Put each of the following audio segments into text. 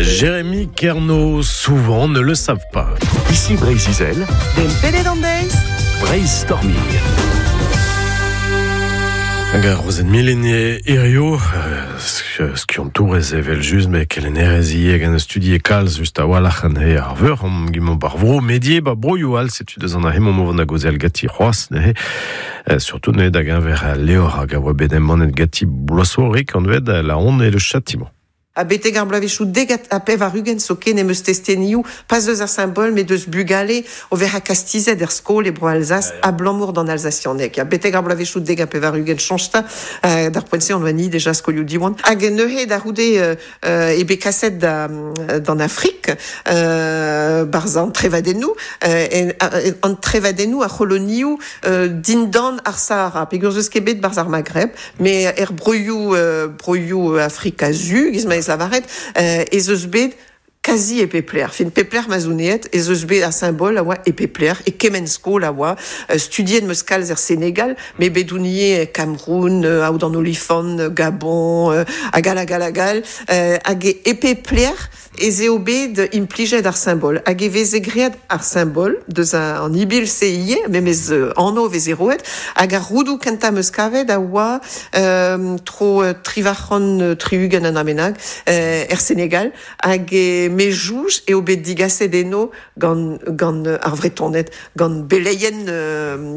Jérémy Kerno, souvent ne le savent pas. Ici Breizh-Izel, Dem pedet an deiz. Breizh-Storming. Hag ar Rozenn Milin hirio, skiantourez evel just, met kelennerez ivez gant studi e kalz just a-walc'h anezhe ar veur, omp gimomp ar vro medie ba broioù all, setu deus an ahe momp o vont da gaozeal ganti c'hoazh neuze, surtout neuze da geñver al levr hag a oa bet embannet ganti bloaz zo rik anvet La honte et le châtiment. Ha betek ar bloavezhioù 90 zoken em eus testenioù, pas eus ar simbol, met eus bugale o vezañ kastizet er skol e Bro-Alzas abalamour d'an alsasianeg. Ya, betek ar bloavezhioù 90 chañch 'ta, d'ar poent-se on oa ni deja skolioù Diwan. Hag neuze da c'houde eo bet kaset da, d'an Afrik, barzh an trevadennoù, an trevadennoù ar c'holonioù dindan ar Sahara, peogwir 'z eus ket bet barzh ar Maghreb. Met er broioù broioù Afrika Su, giz ma ez lavaret, ez eus bet kazi e pep lec'h. Fin, pep lec'h ma 'z on aet, ez eus bet ar simbol a oa e pep lec'h, e kement skol a oa. Studiet 'm eus kalz er Senegal, met bet on ivez e Cameroun, Aod an Olifant, Gabon, hag all hag all hag all. Hag e pep lec'h ez eo bet implijet ar simbol hag e veze graet ar simbol deus an ibil-se ivez, memes anv veze roet, hag ar roudoù kentañ 'm eus kavet a oa tro 860 an dra bennak er Senegal hag me soñj eo bet digaset eno gant gant ar Vretoned, gant beleien,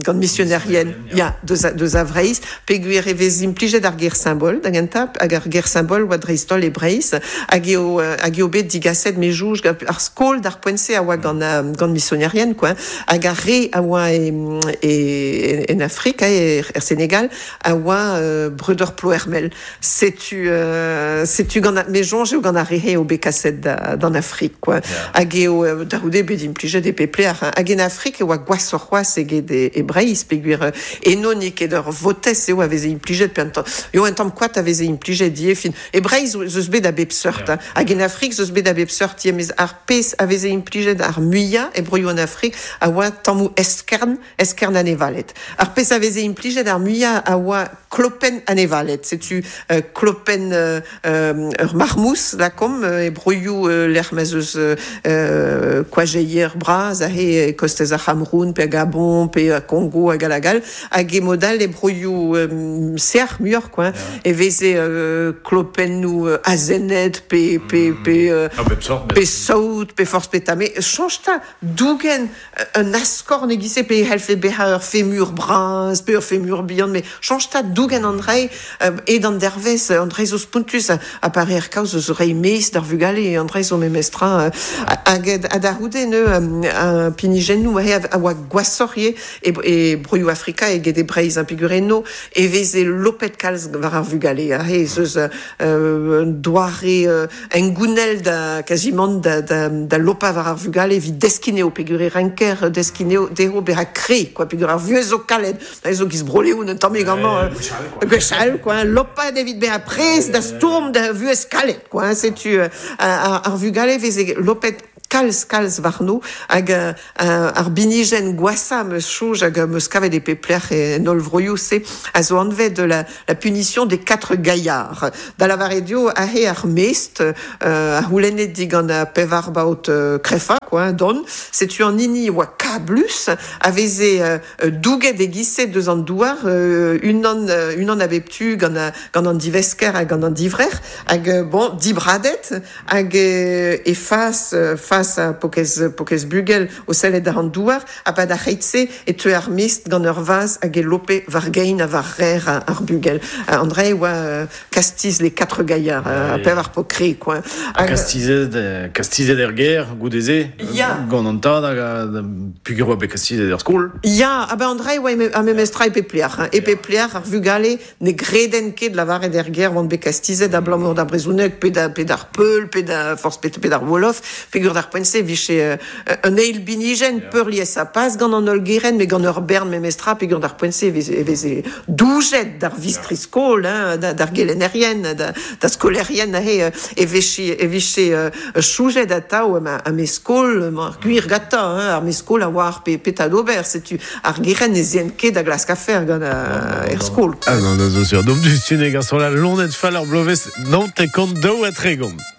gant misionerien, ya, deus a, deus a Vreizh, peogwir e vez implijet ar ger symbol da gentañ, hag ar ger symbol oa dreist-holl e Breizh, hag eo, hag eo bet digaset me soñj gant ar skol d'ar poent-se a oa gant, gant misionerien, quoi, hag ar re a oa e, e, en Afrik, er, er Senegal, a oa breudeur Ploermel. Setu setu gant me soñj eo gant ar re-se eo bet kaset d'an Afrik quoi. Hag eo da c'houde bet implijet e pep lec'h. Hag en Afrik e oa gwashoc'h c'hoazh eget e Breizh peogwir eno n'eo ket ur votez eo a veze implijet pe un tamm eo un tamm koad a veze implijet ivez. Fin e Breizh ez eus bet a bep seurt hag en Afrik ez eus bet a bep seurt ivez mes ar pezh a veze implijet ar muiañ e broioù an Afrik a oa tammoù eskern eskern anevaled. Ar pezh a veze implijet ar muiañ a oa klopenn anevaled. Setu klopenn ur marmouz, lakaomp, e broioù lec'h ma'z eus koajeier bras aze e kostez ar C'hameroun pe Gabon pe Kongo hag all hag all. Hag e mod all e broioù sec'h muioc'h quoi, e veze klopennoù azened pe pe pe pe saout pe forzh petra. Met soñj 'ta dougen un askorn e-giz-se pe e c'hellfe bezañ ur femur bras pe ur femur bihan met chañch 'ta dougen an dra ed an dervezh an dra zo spontus ha pa reer kaoz eus reiñ mez d'ar vugale an dra zo memestra hag ha da c'houde neu pinijennoù a oa gwashoc'h ivez e broioù Afrika eget e Breizh peogwir eno e veze lopet kalz war ar vugale aze ez eus un doare hengounel da kazimant da, da, da lopañ war ar vugale evit deskiñ eo peogwir e renker deskiñ eo dezho bezañ kre quoi peogwir ar vuhez zo kalet zo giz Bro-Leon un tammig amañ gwechall quoi lopat evit bezañ prest da stourm da vuhez kalet quoi setu ar vugale veze lopet kalz kalz warno hag ar binijenn gwashañ 'm eus soñj hag 'm eus kavet e pep lec'h en holl vroioù-se a zo anvet la, la punition des quatre gaillards. Da lavaret eo aze ar mestr a c'houlenne digant ar pevar baotr krefañ quoi, dont. Setu an hini oa kablus a veze douget e-giz-se deus an douar unan unan a bep tu gant, gant an divesker ha gant an divrec'h hag bon dibradet Hag e fas, fas ha pokez, pokez bugel o sellet àr an douar, ha 'pad ar c'heit-se e teue ar mestr gant ur vazh hag e lope war gein ha war rer ar bugel. An dra e oa kastiz les quatre gaillards, ha pevar paotr kre, quoi. Ha kastizet, kastizet er gêr goude-se, gant an tad hag peogwir oa bet kastizet er skol. Ya, ha ben an dra e oa ar memes tra e pep lec'h. E pep lec'h ar vugale Ne greden ket lavaret er gêr oant bet kastizet abalamour d'ar brezhoneg pe da pe d'ar peul pe da forzh pe, pe d'ar wolof peogwir d'ar poent-se e vije un eil binijenn peurliesañ pas gant an holl gerent met gant ur bern memestra peogwir d'ar poent-se e veze, e veze doujet d'ar vistri-skol hein, d'ar gelennerien da, da skolaerien aze e vije e vije choujet atav ma, me skol ar gwir gantañ hein, ar me skol a oar pe petra d'ober setu Ar gerent ne zeent ket da glask afer gant er skol. Ah non, non, zo sur. Donc, du ne garçon la lonet fall ar bloavezh 92 ha 30.